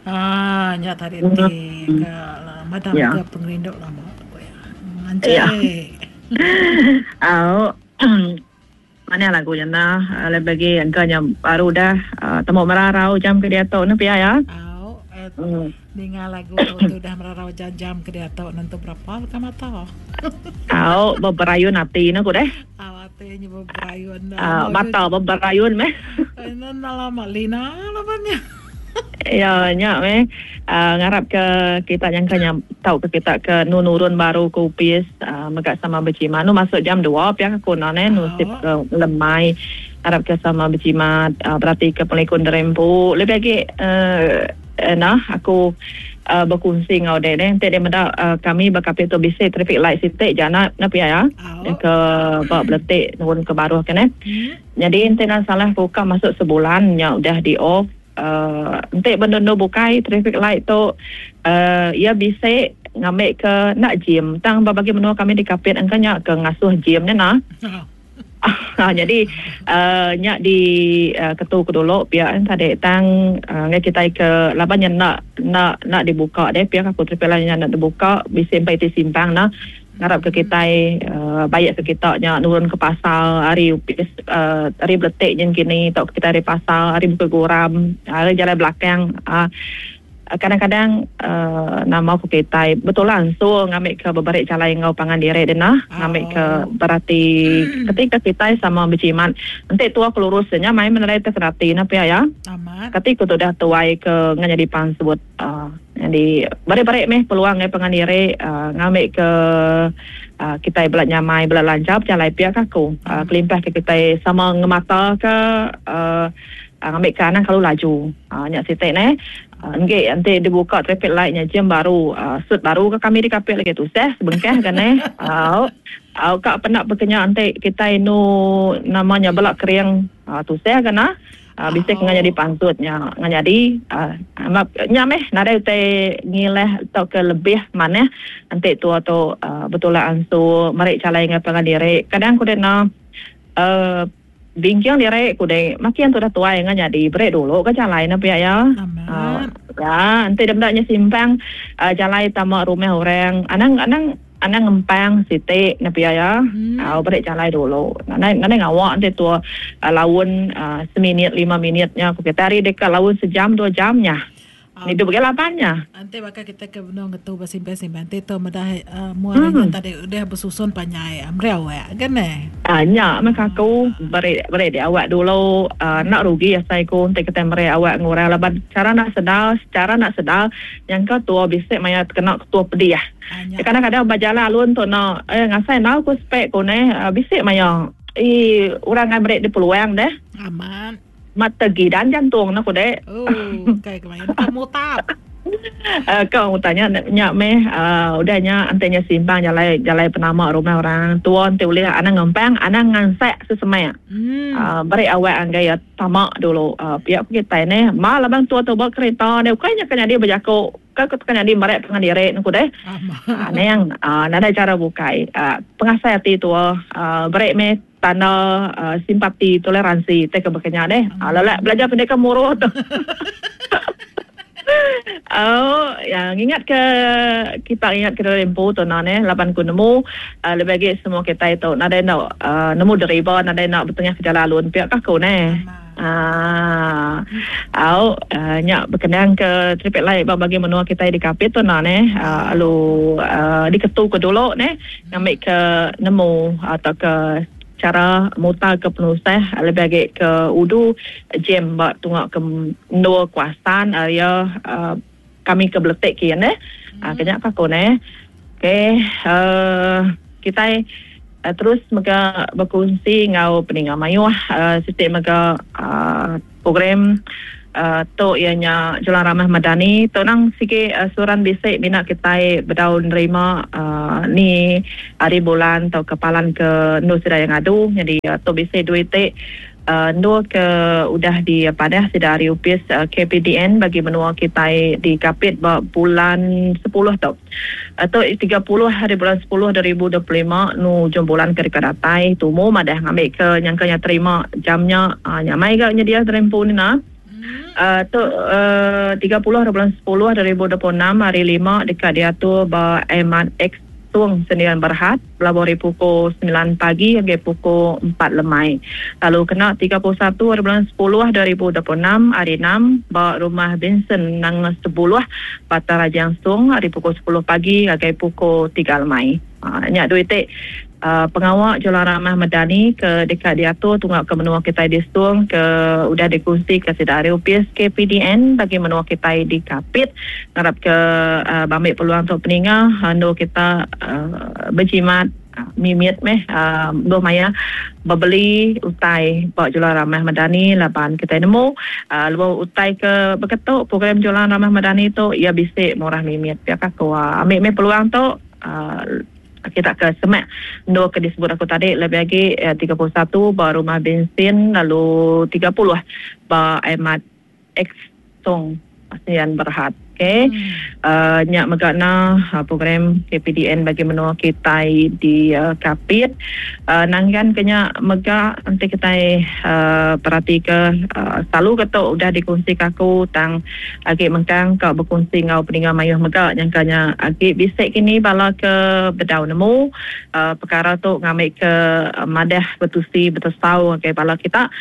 Ah nya tadi ti ke madam ke pengerindu lama ku iya. Manchai. Au. Manah lagu nya nah lebih agi engka nya baru udah temu merarau jam ke diatu ne pia ya. Au ninga lagu tu ti udah merarau jam-jam ke diatu nentu berapa leka mata. Au beberayun ati ne ku deh. Au ati nya beberayun. Mata beberayun meh. Enda lama lina laban nya. Iya nya meh ngarap ke kita nyangka nya tau ke kita ke nu nurun baru ke opis mega sama bejimat nu masuk jam dua pia ke ku enda neh nu sip ke lemai ngarap ke sama bejimat berati ke pengelikun diri empu lebih agi nah aku bekunsi enggau dek neh enti dek meda kami ba kapit tu bisi traffic light siti ja na pia iya ke ba beletik nurun ke baruh ke neh. Nyadi enti enda salah ku ka masuk sebulan nya udah di off uhh enti ba endur-endur bukai traffic light tu uhh iya bisi ngambi ke enda jim tang ba bagi menua kami di Kapit engka nya ke ngasuh jim nya nah. Nyadi uhh nya di ketu ku dulu pia tadi tang ngagai kitai ke laban nya enda enda enda dibuka deh pia ku traffic light nya enda dibuka bisi empai ti simpang nah. Ngarap ke kitai baik ke kita nya nurun ke pasar ari opis ari beletik nyin kini tauka kitai ari pasar ari Bukit Goram ari jalai belakang uhh kadang-kadang uhh nama ku kitai betulah ansur ngambi ke beberi jalai enggau pangan diri deh nah ngambi ke berati ketika kitai sama bejimat enti tua ke lurus nya main menerai te kerati ne pia iya kati ku tudah tuai ke nyadi pansut uhh. Nyadi beri-beri meh peluang ngagai pangan diri ngambi ke kitai bela nyamai bela lancar bejalai pia ka aku. Kelimpah ke kitai sama ngemata ka ngambi ka anang kelalu laju. Nya siti neh. Enggi enti dibuka traffic light nya jam baru sut baru ka kami dikapit lagi tusah sebengkah ga neh. Au au ka penda pekenya enti kitai enu nama nya bela kering tusah ga nah. Bisi ke nyadi pansut nya nyadi nya meh nadai utai ngilah tauka lebih manah enti tua tu betulak ansu meri jalai enggau pangan diri. Kadang ku deh enda uhh bingking diri ku deh makin tudah tuai enggau nyadi beri dulu ka jalai ne pia iya. Ya enti deh meda nya simpang jalai tama rumah orang anang anang. Anang ngempang siti ne pia iya. Au beri jalai dulu. Nadai nadai ngawa enti tua laun seminit lima minit nya ku kitai ari deka laun sejam dua jam nya. Ngidup agi laban nya. Enti baka kitai ke benung ngetu besimpang-simpang enti tu meda mua hari nya tadi udah besusun panjai meri awak ga neh. Nya meh ka aku beri beri di awak dulu enda rugi asai ku enti kitai meri awak ngurang laban chara enda sedar secara enda sedar nyangka tua bisi maya tekena ketua pedih. Kadang-kadang ba jalai alun tu enda eh ngasai enda ku spek ku neh bisi maya ii orang ngai meri deh peluang deh. Amat. Mat tegidan jantung ne ku dek. Oh kai ke main ka mutap. Ka mutap nya nya meh uhh udah nya enti nya simpang jalai jalai penama rumah orang tua enti ulih anang ngempang anang ngansak sesemak. Uhh beri awak anggai iya tama dulu uhh pia ku kitai neh. Ba laban tua tu ba kereta deh ukai nya ka nyadi bejaku. Ka ke teka nyadi merek pengan diri ne ku deh. Anang nadai chara bukai. Pengasai ati tua beri meh tanda simpati toleransi tai ke baka nya deh. Lelak belajar pendidikan muruh tu. Au ya ngingat ke kita ngingat ke diri empu tu nah neh laban ku nemu lebih agi semua kitai tu nadai enda nemu deriba nadai enda betengah ke jalai alun pia ka ku neh. Aaa. Au nya bekenang ke traffic light ba bagi menua kitai di Kapit tu enda neh lalu diketu ke dulu neh ngambi ke nemu tauka chara mutar ke penusah lebih agi ke udu jam ba tunga ke endur kawasan area kami ke beletik kiye neh. Ke nya ka aku neh. Okey uhh kitai terus mega bekunsi enggau peninga mayuh siti mega uhh program uhh tu iya nya Jalan Ramah Madani tu nang sigi suran bisi mina kitai bedau nerima uhh ni hari bulan tauka palan ke endur sida iya ngadu nyadi tu bisi duit ti Endur ke udah dipadah sida ari opis KPDN bagi menua kitai di Kapit ba bulan sepuluh tu. Tu 30 hari bulan sepuluh 2025 nu ujung bulan ke deka datai tumu madah ngambika nyangka nya terima jam nya nyamai ga nyedia terempu nina. Tu 30 bulan 10 2026 hari lima deka diatur ba Ahmad X Sung Sendirian Berhad belabuh ari pukul semilan pagi ngagai pukul empat lemai. Lalu kena 31 bulan 10 2026 hari enam ba Rumah Vincent Nanga Sebuluh Batang Rajang Sung ari pukul sepuluh pagi ngagai pukul tiga lemai. Nya dua iti pengawa Jualan Ramah Medani ke deka diatur tunga ke menua kitai di Stung ke udah dikunsika sida ari opis KPDN bagi menua kitai di Kapit. Ngarap ke bambi peluang tu peninga endur kita bejimat mimit meh lebuh maya bebeli utai ba Jualan Ramah Medani laban kitai nemu lebuh utai ke beketu program Jualan Ramah Medani tu iya bisi murah mimit pia ka ku. Ambi meh peluang tu. Kita ke semak endur ke disebut aku tadi lebih agi 31 ba Rumah Bensin lalu 30 ba Ahmad X Song Sdn Berhad. Okey. Nya mega na program KPDN bagi menua kitai di Kapit. Nanggan ke nya mega enti kitai peratika selalu ke tu udah dikunsika aku tang Agi mengkang ka bekunsi enggau peninga mayuh mega nyangka nya agi bisi kini bala ke bedau nemu pekara tu ngambika madah betusi betesau ngagai bala kita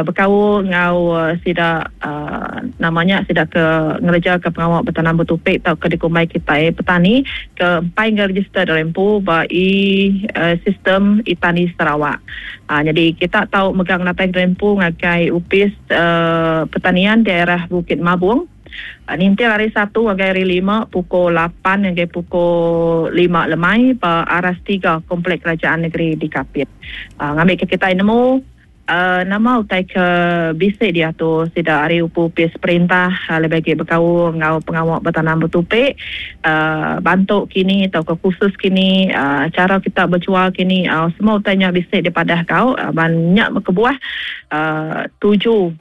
bekaul enggau sida nama nya sida ke ngereja ke pengawa betanam betupi tauka dikumbai kitai petani ke empai ngerejister diri empu ba e sistem e-tani Sarawak. Nyadi kita tau mega ngenatai diri empu ngagai opis Pertanian Daerah Bukit Mabong ninting hari Satu ngagai hari Lima pukul lapan ngagai pukul lima lemai ba Aras tiga Komplek Kerajaan Negeri di Kapit. Ngambika kitai nemu nama utai ke bisi diatur sida ari opis perintah lebih agi bekaul enggau pengawa betanam betupi bantu kini tauka kursus kini chara kita bejual kini semua utai nya bisi dipadah kau ban nya kebuah tuju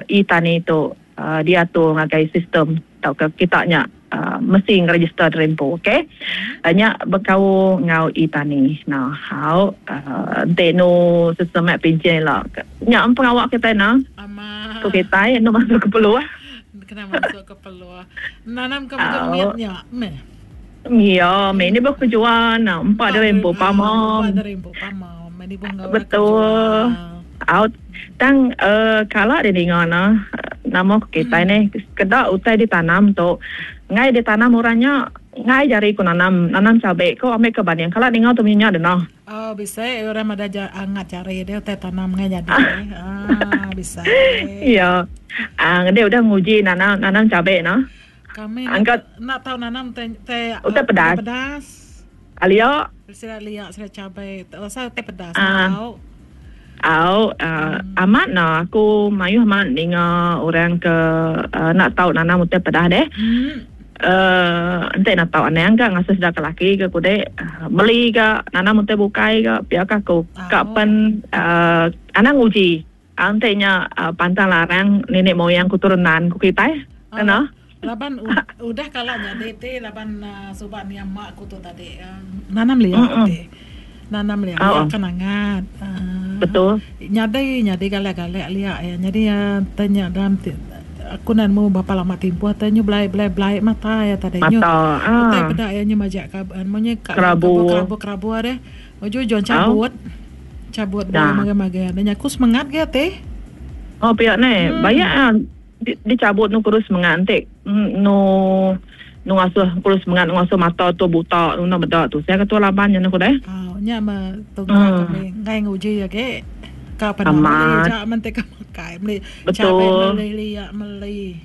e-tani tu diatur ngagai sistem tauka kita nya mesti ngerejister diri empu ok. Nya bekaul enggau e-tani. Nah au enti enu sistem nya pinchin ila nya pengawa kitai nah. Ku kitai enu masuk ke peluh. Kena masuk ke peluh. Nanam ke mit nya meh. Iya, meh ni bah kejual nah empa diri empu pama. Empa diri empu pama. Meh ni bah enggau Betul. Out. Tang kala didinga nah nama ku kitai neh sekeda utai ditanam tu enggai ditanam orang nya enggai jari ku nanam nanam cabe ko ambi ke banding kala ninga tu munyi nya deh nah. Oh bisi orang madah ja angat jari deh utai tanam enggai nyadi deh. Ah bisi. Iya. Ah ngedi udah nguji nanam nanam cabe nah. Kami enda enda tau nanam te te utai pedas. Pedas. Alia. Sida lia sida cabai asal utai pedas tau. Au amat nah aku mayuh amat ninga orang ke enda tau nanam utai pedas deh. Enti enda tau anang ga ngasuh sida ke laki ke kudi beli ga nanam utai bukai ga pia ka aku. Ka pen anang nguji. Enti nya pantang larang nenek moyang keturunan ku kitai kena. Laban udah kala nyadi ti laban suba nia mak ku tu tadi nanam lia ti. Nanam lia lia kan angat. Betul. Nyadi nyadi galak galak lia iya nyadi te nya dalam ti aku enda nemu berapa lama timpuh te nyu belai belai belai mata iya tadi nyu utai peda iya nyu majak ka munyi ka kerabu kerabu deh. Ujung ujung cabut. Cabut bala magang-magang. Nya aku semengat ge ati. Oh pia ne. Bayak ah dicabut nu kurus semengat enti nu nu ngasuh kurus semengat nu ngasuh mata tu buta nu enda meda tu. Saya ketua laban nya ku deh. Oh nya meh tunggal kami enggai nguji agi. Ka peda meli aja men ti ka makai meli cabai meli lia meli.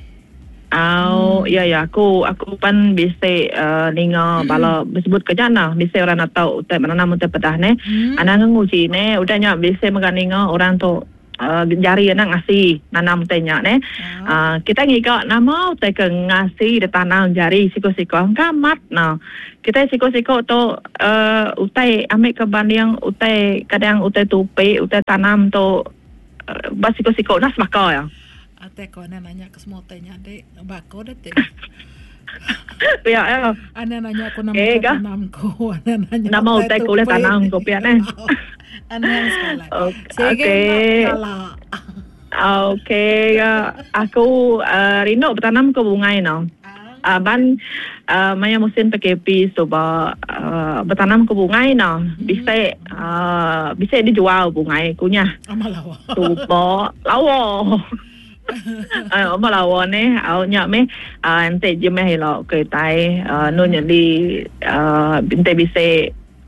Au iya iya aku aku pan bisi ninga bala besebut ke nya nah bisi orang atau utai menanam utai pedah neh anang nguji neh udah nya bisi mega ninga orang tu jari anak ngasi nanam utai nya neh kita ngiga nama utai ke ngasi ditanam jari siko siko engka amat nah kitai siko siko tu utai ambi ke banding utai kadang utai tupi utai tanam tu ba siko siko nah sebaka iya. Atai ko anak nanya ke semua utai nya dik ba aku deh ti. Pia ya. Anak nanya ku nama utai tanam ku. Anak nanya nama utai ku ulih tanam ku pia neh. Anak sekali. Okey. Okey aku rindu betanam ke bungai no. Ban maya musim PKP suba betanam ke bungai no bisi bisi dijual bungai ku nyah. Suba lawa. Ba lawa neh au nya meh enti jemeh ila kitai anu nyadi enti bisi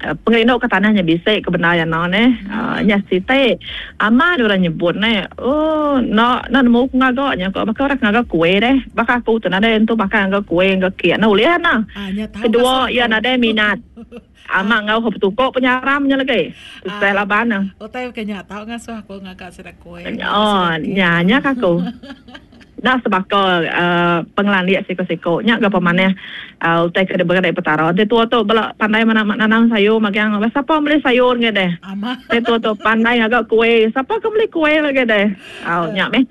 Pengerindu ke tanah nya bisi ke bendar jana neh. Nya siti amat orang nyebut neh ooh enda enda nemu ku ngaga nya ko baka orang ke ngaga kuih deh. Baka aku tu nadai entu makai ngaga kuih enggau kek enda ulih ana. Kedua iya nadai minat amat enggau ke betuko penyaram nya lagi. Tusah laban ne. Utai ke nya tau ngasuh aku ngaga sida kuih. Oh nya nya ka aku. Enda sebaka pengelandik siku-siku. Nya ga pemanah utai ke diberi ari Petara. Enti tua tu bela pandai nanam sayur magang, sapa meli sayur ngi deh. Enti tua tu pandai ngaga kuih, sapa ke meli kuih lagi deh. Au nya meh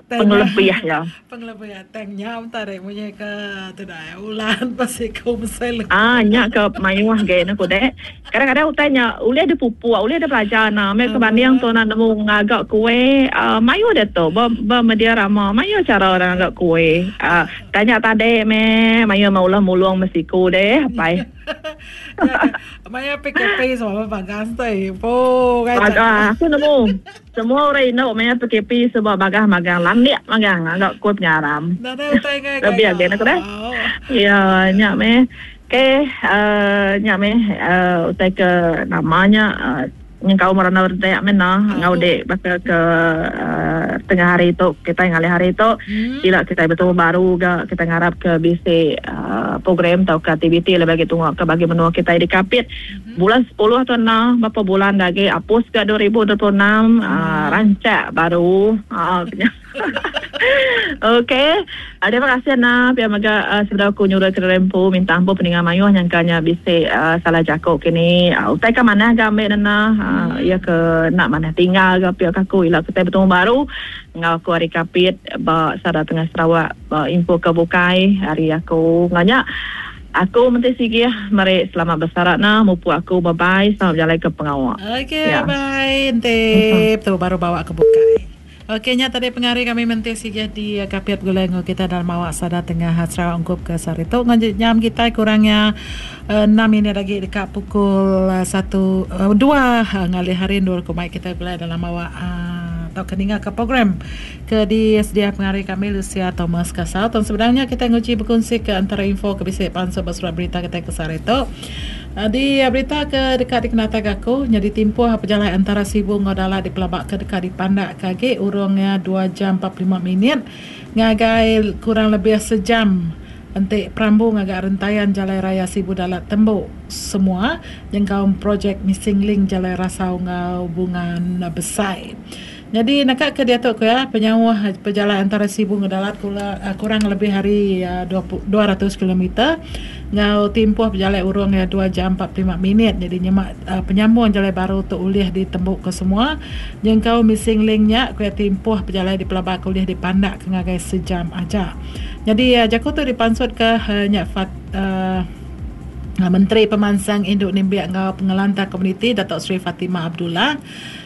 pengelebih iya. Pengelebih iya tang nya tadi munyi ke tudai ulan ba siku mesai leku. Ah nya ke mayuh agi ne ku deh. Kadang-kadang utai nya ulih dipupuk, ulih dipelajar ena. Meh ke banding tu enda nemu ngaga kuih, uhh mayuh diatu ba ba media rama mayuh chara orang ngaga kuih. Uhh tanya tadi meh mayuh meh ulah mulung meh siku deh apai. Maya PKP semua bagas tu ibu. Bagas aku nemu. Semua orang indu maya PKP suba bagah magang landik magang ngaga kuih penyaram. Nadai utai ngagai Lebih agi ne ku deh. Ya nya meh. Okey uhh nya meh uhh utai ke nama nya uhh nyengkaum randau redak meh nah enggau dik baka ke uhh tengah hari tu kitai ngalih hari tu ila kitai betemu baru ga kitai ngarap ke bisi uhh program tauka aktiviti lebih agi tunga ke bagi menua kitai di Kapit. Bulan sepuluh tu enda berapa bulan da agi apus ga 2026 uhh rancak baru uhh nya. Okey terima kasih enda pia mega sebedau aku nyurut ke diri empu minta ampu peninga mayuh nyangka nya bisi uhh salah jaku kini utai ka manah ga ambi nena uhh iya ke enda manah tinggal ga pia ka aku ila kitai betemu baru enggau aku ari Kapit ba Sada Tengah Sarawak ba info ke bukai ari aku enggau nya. Aku menti sigih meri selamat besara na mupuk aku bye bye selamat bejalai ke pengawa. Ok bye enti tu baru bawa ke bukai. Ok nya tadi pengari kami menti sigih di Kapit begulai enggau kita dalam awak sada tengah Sarawak ungkup ke sehari tu enggau jam kitai kurang iya enam minit agi deka pukul satu dua ngalih hari endur ku mai kitai begulai dalam awak tauka ninga ke program Ke disedia pengari kami Lucia Thomas Kasau. Tang sebedau nya kitai nguji bekunsi ke antara info ke bisi pansut ba surat berita kitai ke sehari tu. Di berita ke deka dikenataika aku nyadi timpuh pejalai antara Sibu enggau Dalat dipelaba ke deka dipandakka agi urung iya dua jam 45 minit ngagai kurang lebih sejam enti perambu ngaga rentayan Jalai Raya Sibu Dalat tembu semua nyengkaum projek missing link Jalai Rasau enggau Bungan Besai. Nyadi naka ke diatu ku iya, penyauh pejalai antara Sibu enggau Dalat kurang lebih ari 200 kilometer enggau timpuh pejalai urung iya dua jam 45 minit. Nyadi nyema penyambung jalai baru tu ulih ditembuka semua nyengkaum missing link nya ku iya timpuh pejalai dipelabaka ulih dipandakka ngagai sejam aja. Nyadi jaku tu dipansutka nya Fat Menteri Pemansang Indu Nembiak enggau Pengelantang Komuniti Dato Sri Fatimah Abdullah.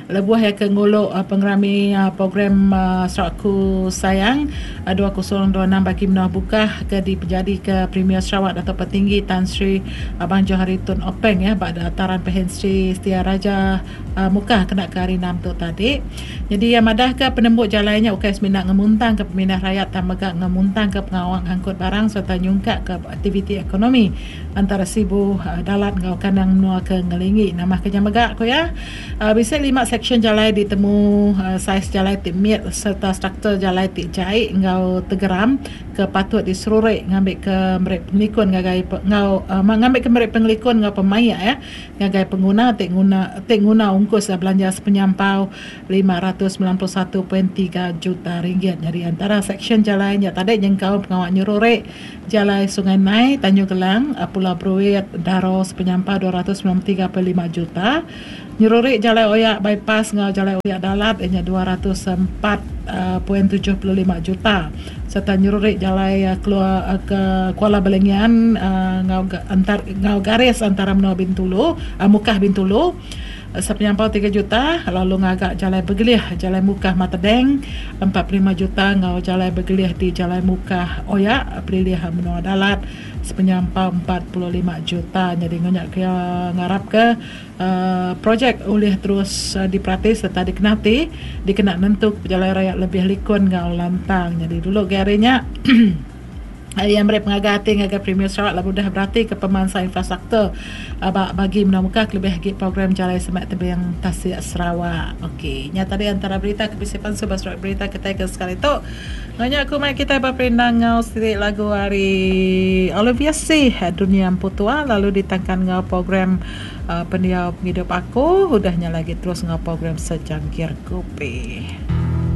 Lebuh iya ke ngulu pengerami program Sarawakku Sayang 2026 bagi menua Bukah ke dipejadika Premier Sarawak Datuk Patinggi Tan Sri Abang Johari Tun Openg ya ba Dataran Pehin Sri Setia Raja Mukah kena ke hari Enam tu tadi. Nyadi iya madahka penembu jalai nya ukai semina ngemuntangka pemindah rayat tang mega ngemuntangka pengawa ngangkut barang sereta nyungkakka aktiviti ekonomi antara Sibu, Dalat enggau kandang menua ke ngelingi. Nambahka nya mega ku iya, Bisi lima seksyen jalai ditemu saiz jalai ti mit sereta struktur jalai ti jai enggau tegeram ke patut diseruri ngambika meri pengelikun ngagai enggau ngambika meri pengelikun enggau pemaik iya ngagai penguna ti nguna ti nguna ungkus belanja sepenyampau 591.3 juta ringgit. Nyadi antara seksyen jalai nya tadi nyengkaum pengawa nyeruri Jalai Sungai Nai, Tanjung Gelang, Pulau Bruit, Daro sepenyampau 293.5 juta, nyeruri Jalai Oyak Bypass enggau Jalai Oyak Dalat iya nya 204.75 juta sereta nyeruri Jalai Keluar ke Kuala Balingian enggau enggau garis antara menua Bintulu, Mukah Bintulu. Sepenyampau tiga juta lalu ngaga Jalai Begelih Jalai Mukah Matedeng 45 juta enggau Jalai Begelih di Jalai Mukah Oya Pelilih Menua Dalat sepenyampau 45 juta. Nyadi enggau nya ke ngarapka projek ulih terus diperati sereta dikenati dikena nentuka pejalai rayat lebih likun enggau lantang. Nyadi dulu agi hari nya. Iya meri pengaga ati ngagai Premier Sarawak lalu udah beratika pemansang infrastruktur ba bagi menua muka kelebih agi program Jalai Semak Tebing Tasik Sarawak. Okey, nya tadi antara berita ke bisi pansu ba surat berita kitai ke sekali tu. Enggau nya aku mai kitai beperindang enggau siti lagu ari Olivia Sih, Dunia Empu Tua lalu ditangkan enggau program Pendiau Pengidup Aku. Udah nya lagi terus enggau program Secangkir Kopi.